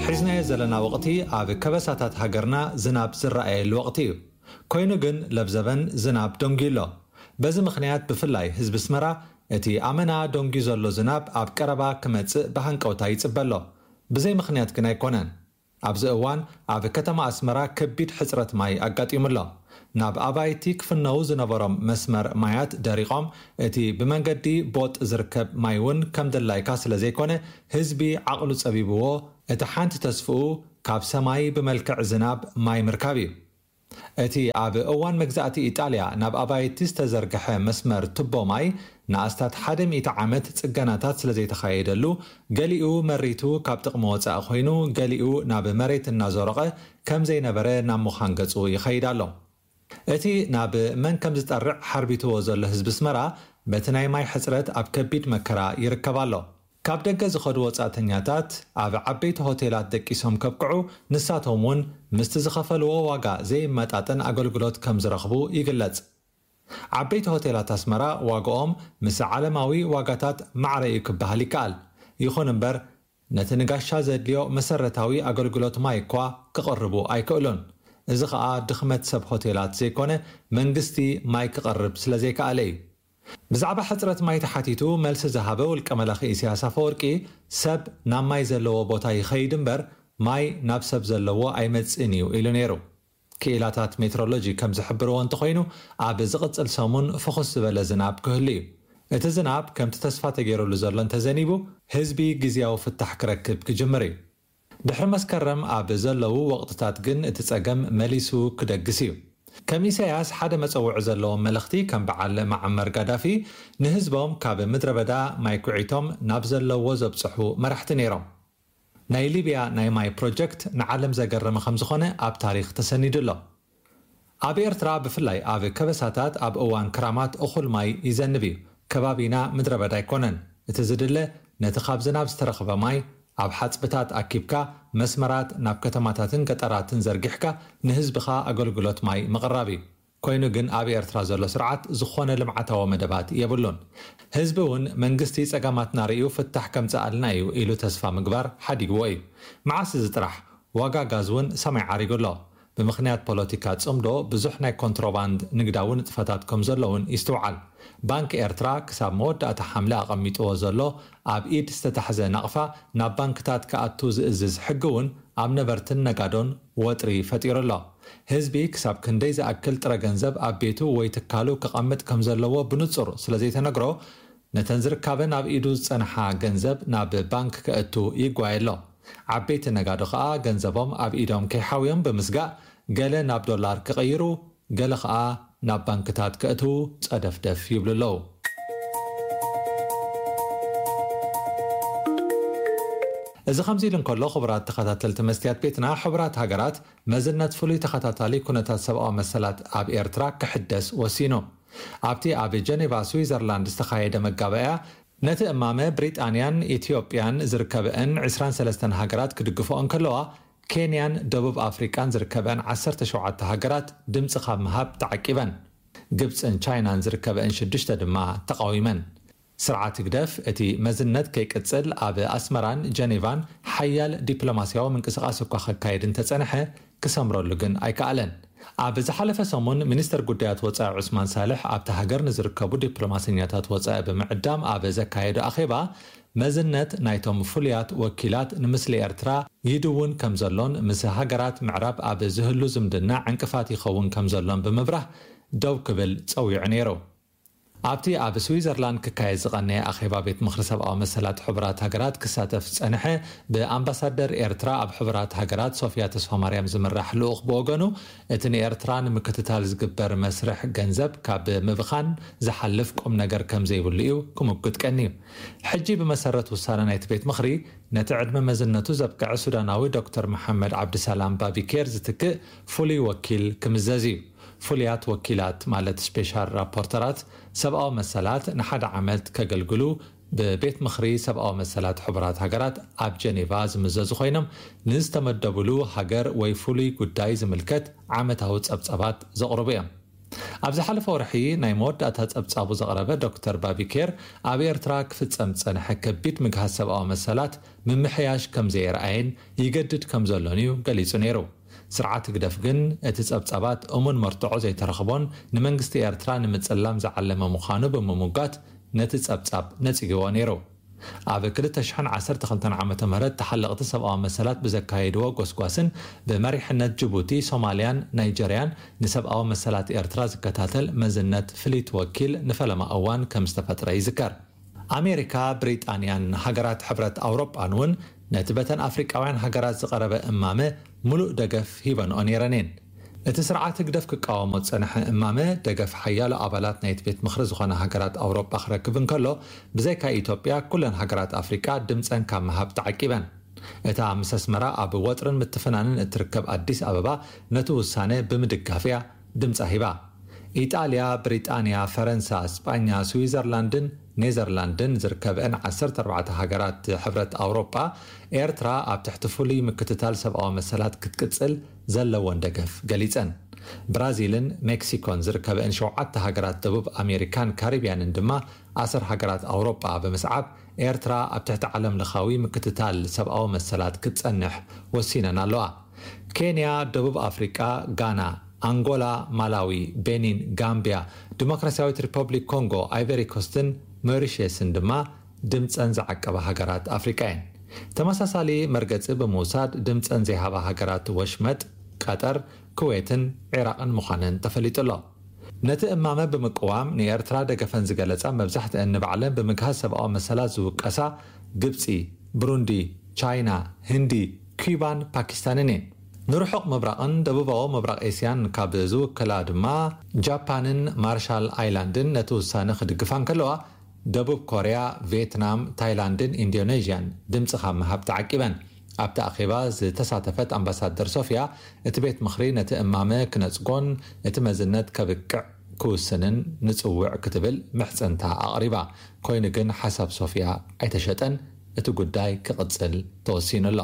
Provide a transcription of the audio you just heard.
ሒዝናዮ ዘለና ወቕቲ ኣብ ከበሳታት ሃገርና ዝናብ ዝረኣየሉ ወቕቲ እዩ። ኮይኑ ግን ለብዘበን ዝናብ ደንጉዩ ኣሎ። በዚ ምኽንያት ብፍላይ ህዝቢ ኣስመራ እቲ ኣመና ደንጉዩ ዘሎ ዝናብ ኣብ ቀረባ ክመጽእ ብሃንቀውታ ይጽበ ኣሎ። ብዘይ ምኽንያት ግን ኣይኮነን። ኣብዚ እዋን ኣብ ከተማ ኣስመራ ከቢድ ሕጽረት ማይ ኣጋጢሙ ኣሎ። ናብ ኣባይቲ ክፍነዉ ዝነበሮም መስመር ማያት ደሪቖም፣ እቲ ብመንገዲ ቦጥ ዝርከብ ማይ እውን ከም ድላይካ ስለ ዘይኮነ ህዝቢ ዓቕሉ ጸቢብዎ፣ እቲ ሓንቲ ተስፍኡ ካብ ሰማይ ብመልክዕ ዝናብ ማይ ምርካብ እዩ። እቲ ኣብ እዋን መግዛእቲ ኢጣልያ ናብ ኣባይቲ ዝተዘርግሐ መስመር ቱቦ ማይ ንኣስታት ሓደ ሚእቲ ዓመት ጽገናታት ስለ ዘይተኻየደሉ፣ ገሊኡ መሪቱ ካብ ጥቕሚ ወጻኢ ኮይኑ፣ ገሊኡ ናብ መሬት እናዞረቐ ከም ዘይነበረ ናብ ምዃን ገጹ ይኸይድ ኣሎ። እቲ ናብ መን ከም ዝጠርዕ ሓርቢትዎ ዘሎ ህዝቢ ኣስመራ፣ በቲ ናይ ማይ ሕጽረት ኣብ ከቢድ መከራ ይርከብ ኣሎ። ካብ ደገ ዝኸዱ ወጻእተኛታት ኣብ ዓበይቲ ሆቴላት ደቂሶም ከብቅዑ፣ ንሳቶም እውን ምስቲ ዝኸፈልዎ ዋጋ ዘይመጣጠን ኣገልግሎት ከም ዝረኽቡ ይግለጽ። ዓበይቲ ሆቴላት ኣስመራ ዋጋኦም ምስ ዓለማዊ ዋጋታት ማዕረ እዩ ክበሃል ይከኣል። ይኹን እምበር፣ ነቲ ንጋሻ ዘድልዮ መሰረታዊ ኣገልግሎት ማይ እኳ ክቕርቡ ኣይክእሉን። እዚ ኸኣ ድኽመት ሰብ ሆቴላት ዘይኮነ፣ መንግስቲ ማይ ክቐርብ ስለ ዘይከኣለ እዩ። ብዛዕባ ሕጽረት ማይ ተሓቲቱ መልሲ ዝሃበ ውልቀ መላኺ ኢሳያስ ኣፈወርቂ፣ ሰብ ናብ ማይ ዘለዎ ቦታ ይኸይድ እምበር፣ ማይ ናብ ሰብ ዘለዎ ኣይመጽእን እዩ ኢሉ ነይሩ። ክኢላታት ሜትሮሎጂ ከም ዝሕብርዎ እንተኾይኑ፣ ኣብ ዝቕጽል ሰሙን ፍኹስ ዝበለ ዝናብ ክህሉ እዩ። እቲ ዝናብ ከምቲ ተስፋ ተገይሩሉ ዘሎ እንተዘኒቡ፣ ህዝቢ ግዝያዊ ፍታሕ ክረክብ ክጅምር እዩ። ድሕሪ መስከረም ኣብ ዘለዉ ወቕትታት ግን እቲ ጸገም መሊሱ ክደግስ እዩ። ከም ኢሳያስ ሓደ መጸውዒ ዘለዎም መለኽቲ፣ ከም በዓል መዓመር ጋዳፊ ንህዝቦም ካብ ምድረ በዳ ማይ ኩዒቶም ናብ ዘለዎ ዘብጽሑ መራሕቲ ነይሮም። ናይ ሊብያ ናይ ማይ ፕሮጀክት ንዓለም ዘገረመ ከም ዝኾነ ኣብ ታሪኽ ተሰኒዱ ኣሎ። ኣብ ኤርትራ ብፍላይ ኣብ ከበሳታት ኣብ እዋን ክራማት እኹል ማይ ይዘንብ እዩ። ከባቢና ምድረ በዳ ኣይኮነን። እቲ ዝድለ ነቲ ካብ ዝናብ ዝተረኽበ ማይ ኣብ ሓጽብታት ኣኪብካ መስመራት ናብ ከተማታትን ገጠራትን ዘርጊሕካ ንህዝብኻ ኣገልግሎት ማይ ምቕራብ እዩ። ኮይኑ ግን ኣብ ኤርትራ ዘሎ ስርዓት ዝኾነ ልምዓታዊ መደባት የብሉን። ህዝቢ እውን መንግስቲ ጸገማትና ርእዩ ፍታሕ ከምጽኣልና እዩ ኢሉ ተስፋ ምግባር ሓዲግዎ እዩ። መዓስ እዚ ጥራሕ? ዋጋ ጋዝ እውን ሰማይ ዓሪጉ ኣሎ። ብምኽንያት ፖለቲካ ጽምዶ ብዙሕ ናይ ኮንትሮባንድ ንግዳዊ ንጥፈታት ከም ዘሎ እውን ይስትውዓል። ባንክ ኤርትራ ክሳብ መወዳእታ ሓምለ ኣቐሚጥዎ ዘሎ ኣብ ኢድ ዝተታሕዘ ናቕፋ ናብ ባንክታት ክኣቱ ዝእዝዝ ሕጊ እውን ኣብ ነበርትን ነጋዶን ወጥሪ ፈጢሩ ኣሎ። ህዝቢ ክሳብ ክንደይ ዝኣክል ጥረ ገንዘብ ኣብ ቤቱ ወይ ትካሉ ከቐምጥ ከም ዘለዎ ብንጹር ስለ ዘይተነግሮ፣ ነተን ዝርካበን ኣብ ኢዱ ዝጸንሓ ገንዘብ ናብ ባንክ ከእቱ ይጓየ ኣሎ። ዓበይቲ ነጋዶ ከኣ ገንዘቦም ኣብ ኢዶም ከይሓውዮም ብምስጋእ፣ ገለ ናብ ዶላር ክቕይሩ፣ ገለ ከኣ ናብ ባንክታት ከእትዉ ጸደፍደፍ ይብሉ ኣለዉ። እዚ ከምዚ ኢሉ እንከሎ፣ ክቡራት ተኸታተልቲ መስትያት ቤትና፣ ሕቡራት ሃገራት መዝነት ፍሉይ ተኸታታሊ ኩነታት ሰብኣዊ መሰላት ኣብ ኤርትራ ክሕደስ ወሲኑ። ኣብቲ ኣብ ጀኔቫ ስዊዘርላንድ ዝተኻየደ መጋባእያ፣ ነቲ እማመ ብሪጣንያን ኢትዮጵያን ዝርከበአን ዕስራን ሰለስተን ሃገራት ክድግፍኦ እንከለዋ፣ ኬንያን ደቡብ ኣፍሪቃን ዝርከበአን ዓሰርተ ሸውዓተ ሃገራት ድምፂ ካብ ምሃብ ተዓቂበን። ግብፅን ቻይናን ዝርከበአን ሽዱሽተ ድማ ተቃዊመን። ስርዓት ህግደፍ እቲ መዝነት ከይቅጽል ኣብ ኣስመራን ጀኔቫን ሓያል ዲፕሎማስያዊ ምንቅስቓስ እኳ ከካየድ እንተጸንሐ፣ ክሰምረሉ ግን ኣይከኣለን። ኣብ ዝሓለፈ ሰሙን ሚኒስተር ጉዳያት ወጻኢ ዑስማን ሳልሕ ኣብታ ሃገር ንዝርከቡ ዲፕሎማሰኛታት ወጻኢ ብምዕዳም ኣብ ዘካየዶ ኣኼባ፣ መዝነት ናይቶም ፍሉያት ወኪላት ንምስሊ ኤርትራ ይድውን ከም ዘሎን ምስ ሃገራት ምዕራብ ኣብ ዝህሉ ዝምድና ዕንቅፋት ይኸውን ከም ዘሎን ብምብራህ ደው ክብል ጸዊዑ ነይሩ። ኣብቲ ኣብ ስዊዘርላንድ ክካየድ ዝቐነየ ኣኼባ ቤት ምኽሪ ሰብኣዊ መሰላት ሕቡራት ሃገራት ክሳተፍ ዝጸንሐ ብኣምባሳደር ኤርትራ ኣብ ሕቡራት ሃገራት ሶፍያ ተስፋማርያም ዝምራሕ ልኡኽ ብወገኑ፣ እቲ ንኤርትራ ንምክትታል ዝግበር መስርሕ ገንዘብ ካብ ምብኻን ዝሓልፍ ቁም ነገር ከም ዘይብሉ እዩ ክምጉት ቀንዩ። ሕጂ ብመሰረት ውሳነ ናይቲ ቤት ምኽሪ፣ ነቲ ዕድመ መዝነቱ ዘብቅዐ ሱዳናዊ ዶክተር መሓመድ ዓብድሰላም ባቢኬር ዝትክእ ፍሉይ ወኪል ክምዘዝ እዩ። ፍሉያት ወኪላት፣ ማለት ስፔሻል ራፖርተራት ሰብኣዊ መሰላት፣ ንሓደ ዓመት ከገልግሉ ብቤት ምኽሪ ሰብኣዊ መሰላት ሕቡራት ሃገራት ኣብ ጀኔቫ ዝምዘዙ ኮይኖም፣ ንዝተመደቡሉ ሃገር ወይ ፍሉይ ጉዳይ ዝምልከት ዓመታዊ ጸብጸባት ዘቕርቡ እዮም። ኣብ ዝሓለፈ ወርሒ ናይ መወዳእታ ጸብጻቡ ዘቕረበ ዶክተር ባቢኬር፣ ኣብ ኤርትራ ክፍጸም ዝጸንሐ ከቢድ ምግሃስ ሰብኣዊ መሰላት ምምሕያሽ ከም ዘየርኣየን ይገድድ ከም ዘሎን እዩ ገሊጹ ነይሩ። ስርዓት ህግደፍ ግን እቲ ጸብጻባት እሙን መርትዖ ዘይተረኽቦን ንመንግስቲ ኤርትራ ንምጽላም ዝዓለመ ምዃኑ ብምምጓት ነቲ ጸብጻብ ነጺግዎ ነይሩ። ኣብ ክልተ ሽሕን ዓሰርተ ክልተን ዓመተ ምህረት ተሓለቕቲ ሰብኣዊ መሰላት ብዘካየድዎ ጎስጓስን ብመሪሕነት ጅቡቲ፣ ሶማልያን ናይጀርያን ንሰብኣዊ መሰላት ኤርትራ ዝከታተል መዝነት ፍልይቲ ወኪል ንፈለማ እዋን ከም ዝተፈጥረ ይዝከር። ኣሜሪካ፣ ብሪጣንያን ሃገራት ሕብረት ኣውሮጳን እውን ነቲ በተን ኣፍሪቃውያን ሃገራት ዝቐረበ እማመ ምሉእ ደገፍ ሂበንኦ ነይረን እየን። እቲ ስርዓት ህግደፍ ክቃወሞ ዝጸንሐ እማመ ደገፍ ሓያሎ ኣባላት ናይቲ ቤት ምኽሪ ዝኾና ሃገራት ኣውሮጳ ክረክብ እንከሎ፣ ብዘይካ ኢትዮጵያ ኩለን ሃገራት ኣፍሪቃ ድምጸን ካብ ምሃብ ተዓቂበን። እታ ምስ ኣስመራ ኣብ ወጥርን ምትፍናንን እትርከብ ኣዲስ ኣበባ ነቲ ውሳነ ብምድጋፍ እያ ድምጻ ሂባ። ኢጣልያ፣ ብሪጣንያ፣ ፈረንሳ፣ ስጳኛ፣ ስዊዘርላንድን ኔዘርላንድን ዝርከበአን ዓሰርተ ኣርባዕተ ሃገራት ሕብረት ኣውሮጳ፣ ኤርትራ ኣብ ትሕቲ ፍሉይ ምክትታል ሰብኣዊ መሰላት ክትቅጽል ዘለወን ደገፍ ገሊጸን። ብራዚልን ሜክሲኮን ዝርከበአን ሸውዓተ ሃገራት ደቡብ ኣሜሪካን ካሪብያንን ድማ ኣሰር ሃገራት ኣውሮጳ ብምስዓብ፣ ኤርትራ ኣብ ትሕቲ ዓለም ለኻዊ ምክትታል ሰብኣዊ መሰላት ክትጸንሕ ወሲነን ኣለዋ። ኬንያ፣ ደቡብ ኣፍሪቃ፣ ጋና፣ ኣንጎላ፣ ማላዊ፣ ቤኒን፣ ጋምቢያ፣ ዲሞክራሲያዊት ሪፐብሊክ ኮንጎ፣ ኣይቨሪ ኮስትን ሞሪሸስን ድማ ድምጸን ዝዓቀባ ሃገራት ኣፍሪቃ እየን። ተመሳሳሊ መርገጺ ብምውሳድ ድምጸን ዘይሃባ ሃገራት ወሽመጥ፣ ቀጠር፣ ኩዌትን ዒራቕን ምዃነን ተፈሊጡ ኣሎ። ነቲ እማመ ብምቅዋም ንኤርትራ ደገፈን ዝገለጻ፣ መብዛሕትአን ንባዕለን ብምግሃስ ሰብኣዊ መሰላት ዝውቀሳ ግብጺ፣ ብሩንዲ፣ ቻይና፣ ህንዲ፣ ኪባን ፓኪስታንን እየን። ንርሑቕ ምብራቕን ደቡባዊ ምብራቕ ኤስያን ካብ ዝውክላ ድማ ጃፓንን ማርሻል ኣይላንድን ነቲ ውሳነ ክድግፋ እንከለዋ፣ ደቡብ ኮርያ፣ ቪየትናም፣ ታይላንድን ኢንዶኔዥያን ድምጺ ካብ ምሃብ ተዓቂበን። ኣብቲ ኣኼባ ዝተሳተፈት ኣምባሳደር ሶፊያ፣ እቲ ቤት ምኽሪ ነቲ እማመ ክነጽጎን እቲ መዝነት ከብቅዕ ክውስንን ንጽውዕ ክትብል ምሕጽንታ ኣቕሪባ። ኮይኑ ግን ሓሳብ ሶፊያ ኣይተሸጠን፣ እቲ ጉዳይ ክቕጽል ተወሲኑ ኣሎ።